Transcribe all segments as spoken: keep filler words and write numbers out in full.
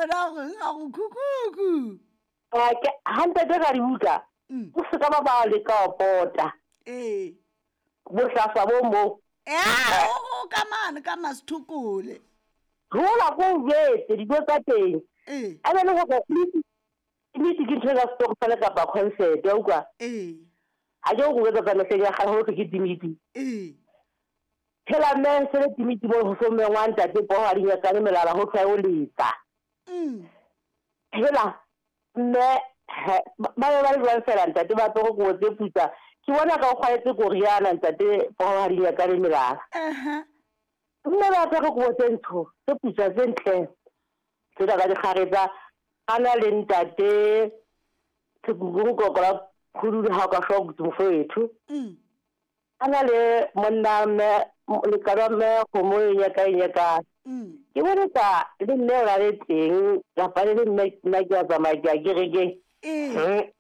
bona gore ga go khukhukhu. Ha ntate ka dibuka. O se ka ba ba le ka pota. Eh. Bohlaswa bo mo. Eh, o ka mane ka masithukule. Rola go jetse dijo tsa teng. Eh. A be le go ke ke ntho ya stokfela kapa concert ya utlwa. Eh. Ha ke go etsa tsa ya ga ho ke timiti. Eh. Phela mme se le timiti mo ho so mengwa ntate po ha di nyakane melala ho tla o letsa. Mm. Phela mme ba ba ba le jwang fela ntate ba tlo go tse putsa. Ke bona ka o kgwaetse koriana ntate po ha di nyakane melala. Aha. Mme ba tlo go tse ntho tse putsa tse ntle. Tse da ka dikgaretsa ana le ntate tsekukukokola khulu ha ka shock mfowethu. Mm. Ana le monna me le ka me go mo nya ka nya ka. Mm. Ke bona ka le nne ra le teng la pa le nne nna ke a tsamaya ke a kereke. Eh.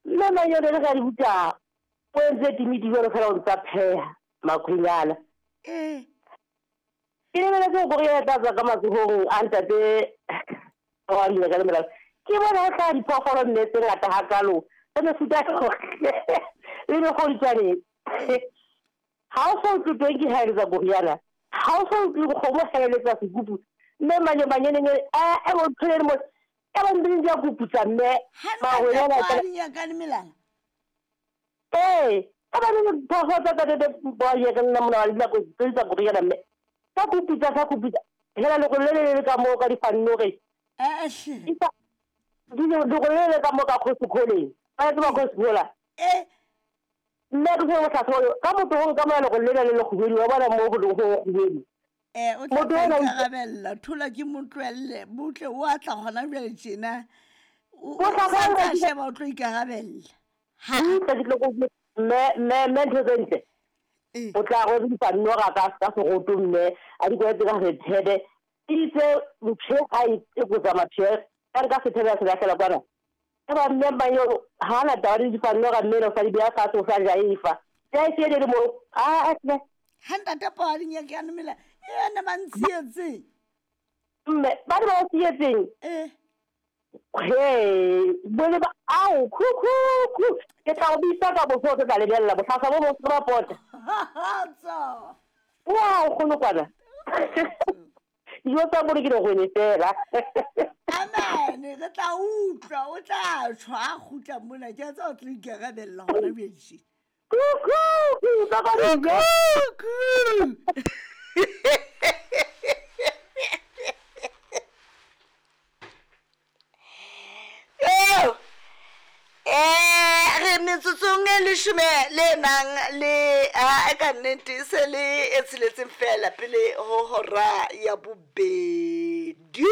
Nna na yone le ga di butsa o entse timidi jalo fela o ntsa pheha makhwinyana. Eh. Ke le le go go ya tsa ka matsohong a ntate wa nna ka le ke bona o tla diphoofolo mme tse ngata hakalo tse mefuta le mekgoditswane. Ha o so utlwe teng ke haeletsa koriana, ha o so utlwe kgomo haeletsa sekupu mme manye manyenenye a e bo tshwere mo e ba nding ya kuputsa mme mahwenyana ka nyakane melala. Eh, ka ba le diphoofolo tsa tsa ba ye ka nna mona wa dinako tse tsa koriana mme ka kuputsa ka kuputsa hela le go le le ka mo ka difannore. Eh eh. Di le go le ka mo ka khosikholeng. Ba tseba khosikhola. Eh. Nna ke go tla tlo ka motho go ka mola go le le le go wa bona mo go go go. Eh o tla ikarabella thola ke motloelle butle o a tla gona jwale tjena. O tla sheba o tlo ikarabella. Ha ke tlo go me me me ntho tse ntle. O tla go difannoga ka ka segoto mme a di kwetse ka sethebe. Itse mphe a e go tsamaya ka ka sethebe se lahlela kwana. Ka ba mme ba yo ha na taba di difannoga mme lo fa di bea fatshe o sa ja efa. Ya e le mo a a tle. Ha ntate po a di nyakane mela e na ba ntsietseng. Mme ba di ba tsietseng. Eh. He, bole ba au khu khu khu ke tla o bitsa ka bofo ke tla lebella botlhasa bo bo se pota. Tsa. Wa o kgone kwana. Yo tsa bore ke go ne fela. Amen, re tla utlwa o tla tshwa a gutla mona ke tsa o tla ikarabella gona bjetse. Kuku, ka ka kuku. Eh, re metsotsong e leshome le nang le a ka nnete se le e tsheletseng fela pele ho hora ya bobedi.